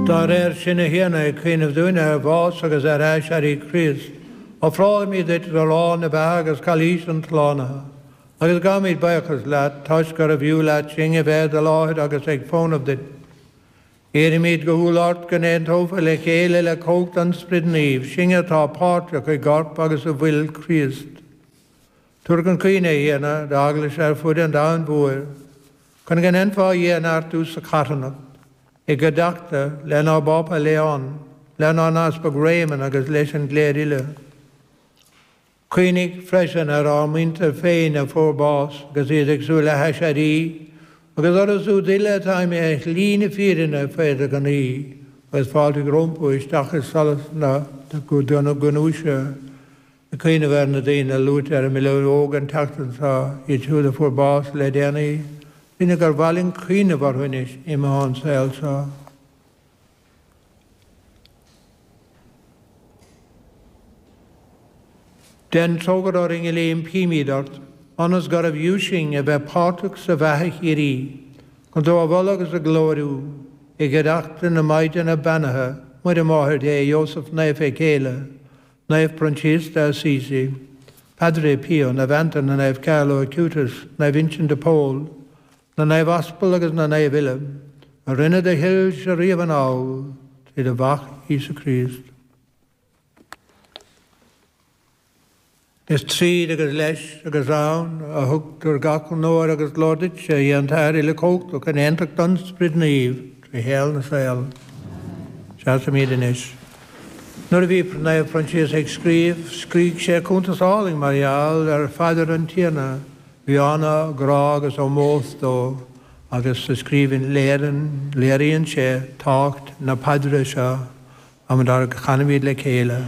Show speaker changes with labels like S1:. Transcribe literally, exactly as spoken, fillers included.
S1: Dá réir sin, a Thiarna, ag cuimhneamh dúinn ar bhás agus ar aiséirí Chríost, ofrálaimid duit arán na beatha agus cailís an tslánaithe, agus gabhaimid buíochas leat toisc gurbh fhiú leat sinn a bheith i do láthair agus ag fónamh duit. Iarraimid go humhal ort go n-aontófar le chéile le cumhacht an Spioraid Naoimh, sinn atá páirteach i gcorp agus i bhfuil Chríost. Tabhair chun cuimhne, a Thiarna, d'eaglais ar fud an domhain mhóir, chun go ndéanfá í a neartú sa charthanacht, i gcuideachta lenár bPápa Leon, lenár nEaspag Réamonn agus leis an gcléir uile. Cuimhnigh freisin ar ár muintir féin a fuair bás agus iad ag súil le haiséirí, agus orthu siúd uile atá imithe ar shlí na fírinne fé do ghnaoi, agus fáiltigh rompu isteach i solas na gnúise. Ag cuimhneamh ar na daoine a luaite ar an mbileog an tseachtain seo, iad siúd a fuair bás le déanaí, daoine gur mhaith linn cuimhneamh orthu anois imithe ón saol seo. Déan trócaire orainn uile, impímid ort, ionas gurbh fhiú sinn a bheith páirteach sa bheatha shíoraí, chun tú a mholadh agus a ghlóiriú, i gcuideachta na Maighdine beannaithe, Muire Máthair Dé, Iósaf Naofa a céile, Naomh Proinsias de Assisi, Padre Pio, Naomh Antaine, Naomh Carlo Acutis, Naomh Uinseann de Pól, na Naoimh Aspal agus na Naoimh uile, a rinne do thoilse riamh anall, trí do Mhac Íosa Críost. Is tríd agus leis agus ann a thugtar gach onóir agus glóir duitse, a Dhia an tAthair Uilechumhachtach, in aontacht an Spioraid Naoimh, trí shaol na saol. Seasaimid anois. Nuair a bhí Naomh Proinsias ag scríobh, scrígh sé cuntas álainn mar gheall ar phaidir an Tiarna. Bhí an-ghrá agus ómós dó agus sa scríbhinn léiríonn sé tábhacht na paidre seo, am dár gcanaimid le chéile.